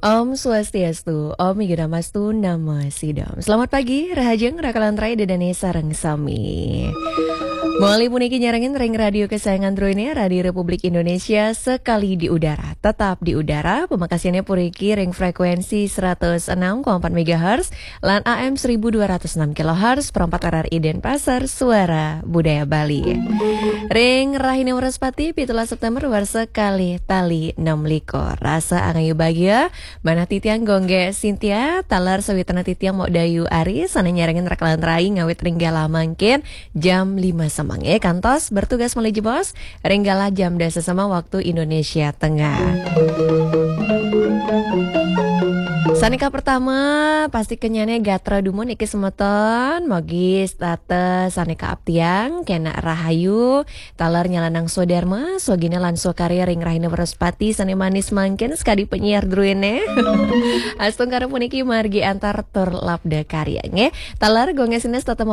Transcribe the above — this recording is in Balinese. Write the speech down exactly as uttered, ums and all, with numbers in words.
Om Swastiastu, Om Igadamastu Namo Sidom. Selamat pagi, rahajeng rakalan rai dedane sareng sami. Moli puniki nyarengin ring radio kesayangan druene, Radio Republik Indonesia, sekali di udara, tetap di udara, pemakasiannya puniki ring frekuensi seratus enam koma empat megahertz lan A M seribu dua ratus enam kilohertz, perempat R R I Denpasar, Suara Budaya Bali. Ring rahine Wrespati, pitulas September, warsa kalih tali enam likur. Rasa angayu bagia, manah titiang Gongge Sintia, taler sawitran titiang Mok Dayu Ari, sane nyarengin rakalan rai ngawit ring galah mangkin jam lima semeng, eh, kantos bertugas malih jebos, ring galah jam dasa semeng waktu Indonesia Tengah. Sane kapertama, pasti kenyane gatra dumun niki semeton, mogi setata sane kaaptiang, kena rahayu, taler nyalanang swadarma, swagina lan swakarya ring rahina Wrespati sane manis mangkin sakadi penyiar druene. Astungkara puniki margi antar tur labda karya, nggih. Taler Gongge Sintia setata